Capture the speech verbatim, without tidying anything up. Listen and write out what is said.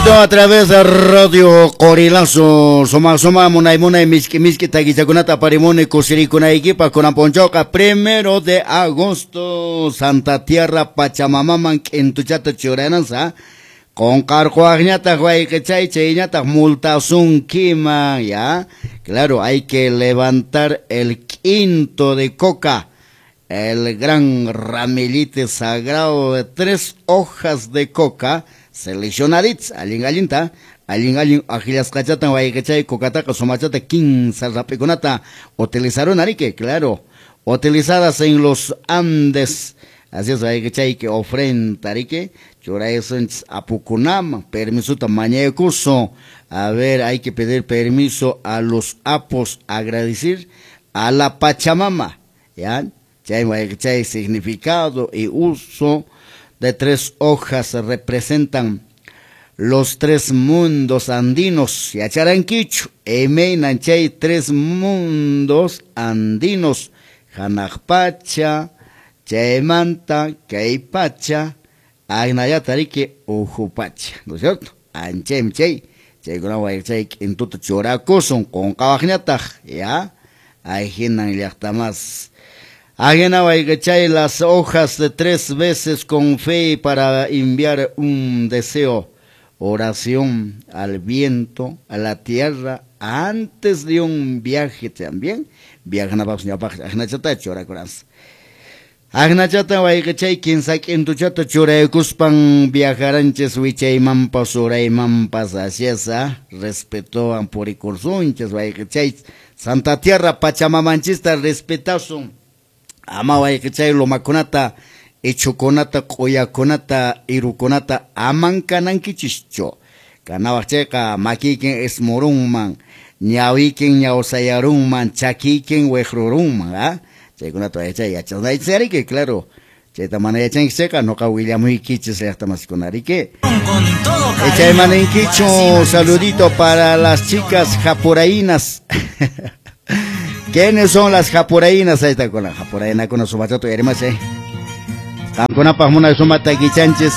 Directo a través de Radio Qorilazo. Suma suma munay munay miski miski takichakunata aparimuni kusirikunaykipaq kunan p'unchawqa primero de agosto Santa Tierra Pachamamaman k'intuchata churanansa. Qunqarquwaqñataq wayqichay chayñataq multasunkiman, ya. Claro, hay que levantar el quinto de coca, el gran ramillete sagrado de tres hojas de coca seleccionaditas, allin allinta, allin allin akillasqachatan wayqichay cocataqa sumachata kinsa rap'ikunata utilizaron arique, claro, utilizadas en los Andes. Así es, wayqichay que ofrenda arique, churaysunchis apukunaman, permisota mañaykusun. A ver, hay que pedir permiso a los apos, agradecer a la Pachamama, ¿ya? Chay wayqichay significado y uso de tres hojas representan los tres mundos andinos. Yacharankichu, imaynan chay tres mundos andinos, hanaq pacha, chaymanta, kay pacha, agnayata riki ukhu pacha, ¿no es cierto? Anchaymi chay, chaykuna wayqichay k'intuta churakusun qunqawaqñataq, ya? Ahinan llaqtamas. Ajena wayqichay las hojas de tres veces con fe para enviar un deseo, oración al viento, a la tierra, antes de un viaje también. Viajanapaq ñawpaq ajnachata churakuransa. Ajnachata wayqichay kinsa k'intuchata churaykuspan viajaranchis wichaymanpas uraymanpas, así es, ¿ah? Respetowan purikursunchis wayqichay Santa Tierra Pachamamanchista respetasun. Ama wayqichay lumakunata, ichhukunata, q'uyakunata, irukunata aman kanankichischu. Kanawaq chayqa makiykin ismurunman, ñawiykin ñawsayarunman, chakiykin wiqrurunman, ¿ah? Chaykunata wayqichay yachanaychis ariki, claro. Chayta mana yachankichis chayqa nuqa willamuykichis llaqtamasikuna ariki. Con todo cariño, Chaymaninkichu, para siempre. Saludito para las chicas japuraínas. ¿Quiénes son las japuraínas? Ahí está con la japuraína con su bachato y hermano, eh. Qamkunapaq munay suma takichanchis.